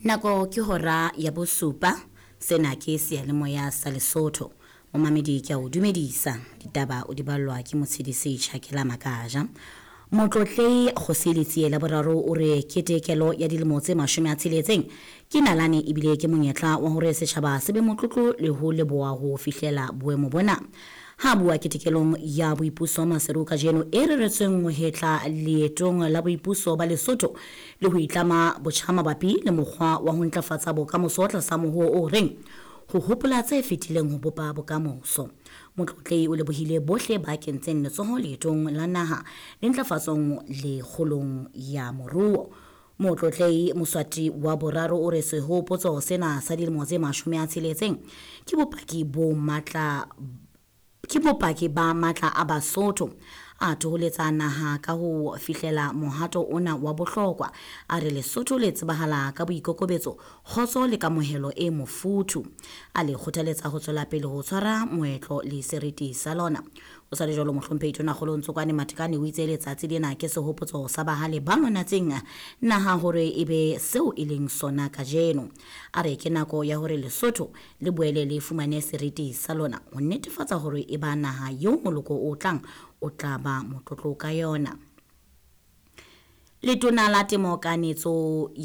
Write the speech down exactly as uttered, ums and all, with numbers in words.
Nako ke hora ya bosupa. Sena ke seyalemoya sa Lesotho. Momamedi ke a o dumedisa. Ditaba o di ballwa ke Motshedisi Tjhakela Makaja. Motlotlehi Kgosi Letsie la boraro o re ketekelo ya dilemo tse mashome a tsheletseng ke nalane ebile ke monyetla wa hore setjhaba se be motlotlo le ho leboha ho fihlela boemo bona. Ha bua ketekelong ya boipuso Maseru kajeno e reretsweng ho hetla leetong la boipuso ba Lesotho le ho itlama botjha mabapi le mokgwa wa ho ntlafatsa bokamoso tlasa mohoo o reng ho hopola tse fetileng ho bopa bokamoso. Motlotlehi o lebohile bohle ba kentseng letsoho leetong la naha le ntlafatsong le kgolong ya moruo. Motlotlehi Moswati wa boraro o re sehopotso sena sa dilemo tse mashome a tsheletseng ke bopaki bo matla ke bopaki ba matla a Basotho a thoholetsa naha ka ho fihlela mohato ona wa bohlokwa. A re Lesotho le tsebahala ka boikokobetso, kgotso le kamohelo e mofuthu. A le kgothaletsa ho tswela pele ho tshwara moetlo le seriti sa lona. O sa le jwalo mohlomphehi Tonakgolo Ntsokoane Matekane o itse letsatsi lena ke sehopotso sa bahale ba lwanetseng naha hore e be seo e leng sona kajeno. A re ke nako ya hore Lesotho le boele le fumane seriti sa lona ho netefatsa hore e ba naha eo moloko o tlang o tla ba motlotlo ka yona. Letona la Temo Kanetso ya